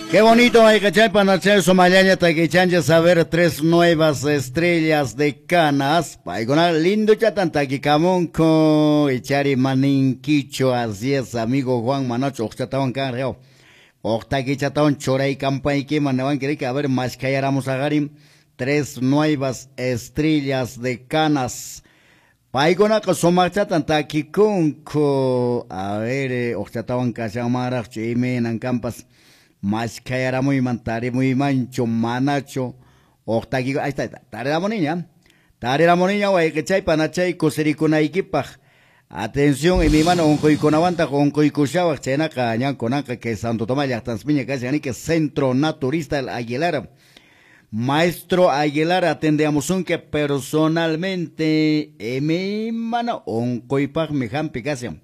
Qué bonito, wayqichay panachay sumallaña takichanchis saber tres nuevas estrellas de Canas. Paykuna lindo chatan takikamunku. Ichari maninkicho, así es, amigo Juan Manacho, uqchatawan kan reo. Uqtakichatawan churay campaykiman newanki a ver, mashkayaramos agarim. Tres nuevas estrellas de Canas. Paykunaqa sumaqchatan takikunku. A ver, uqchatawan kashanmanraqchu imaynan kampas. Mashkayaramuyman tarimuymanchu manachu uqtakiku. Ahí está, tariramuniña. Tariramuniña wayqichay panachay kusirikunaykipaq. Atención, imaymana unquykunawantaq unquykushawaq chaynaqa ñankunanqa que Santo Tomás llaqtanspiña kashan que Centro Naturista El Aguilar. Maestro Aguilar atendeamusunki personalmente imaymana unquypaqmi hampi kashan.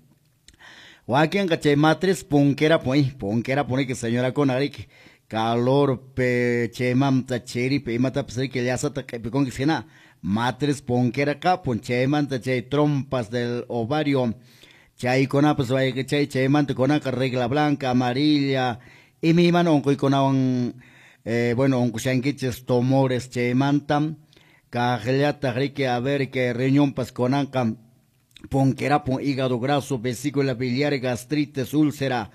Wakinqa chay matriz punkera punki que señorakuna riki calor pe chaymanta chiripi imatapas riki llasata q'ipikunki hina matriz punkera kapun chaymanta chay trompas del ovario chaykunapas wayqichay chaymanta kunanqa regla blanca amarilla imaymana unquykunawan bueno unqushankichis tumores chaymanta kaqllataq riki a ver que riñonpas kunanqa ponquerapon, hígado graso, vesícula biliar, gastritis, úlcera.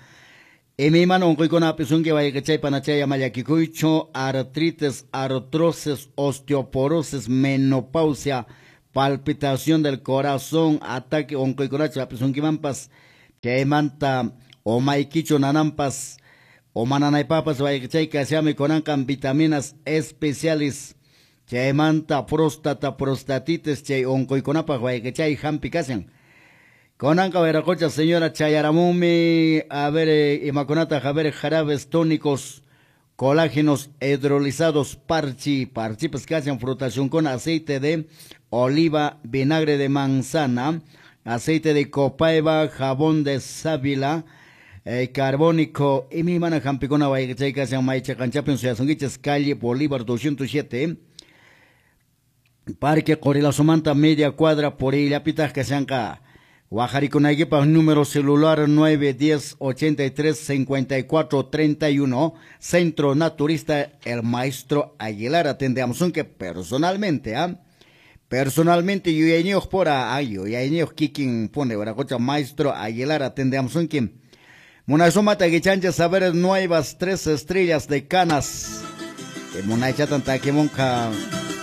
Imaymana unquykuna apisunki wayqichay panachay ama llakikuychu, artritis, artrosis, osteoporosis, menopausia, palpitación del corazón, ataque unquykunachu apisunkimanpas, chaymanta umaykichu nananpas, umananaypapas wayqichay kashami kunanqan vitaminas especiales. Chaymanta próstata, prostatitis, chay unquykunapaq wayqichay hampi kashan. Kunanqa wiraqocha señora chayaramunmi, a ver, imakunataq, a ver, jarabes tónicos, colágenos hidrolizados, parchi, parchipas kashan, frutación con aceite de oliva, vinagre de manzana, aceite de copaiba, jabón de sábila, carbónico, y mi mana hampikuna wayqichay kashan, maycha qanchapin suyasunkichis, calle Bolívar 207, Parque Qorillasumanta, media cuadra por illapitaq kashanqa. Waqharikunaykipaq número celular 910 83 54 31, Centro Naturista El Maestro Aguilar. Atendeamusunki personalmente, ¿ah? Personalmente yuyayniyuq pura, ay, yuyayniyuq kikin pone wiraqocha Maestro Aguilar atendeamusunki. Munasumata kichanchis saber nuevas tres estrellas de Canas. Munaychatan takimunqa.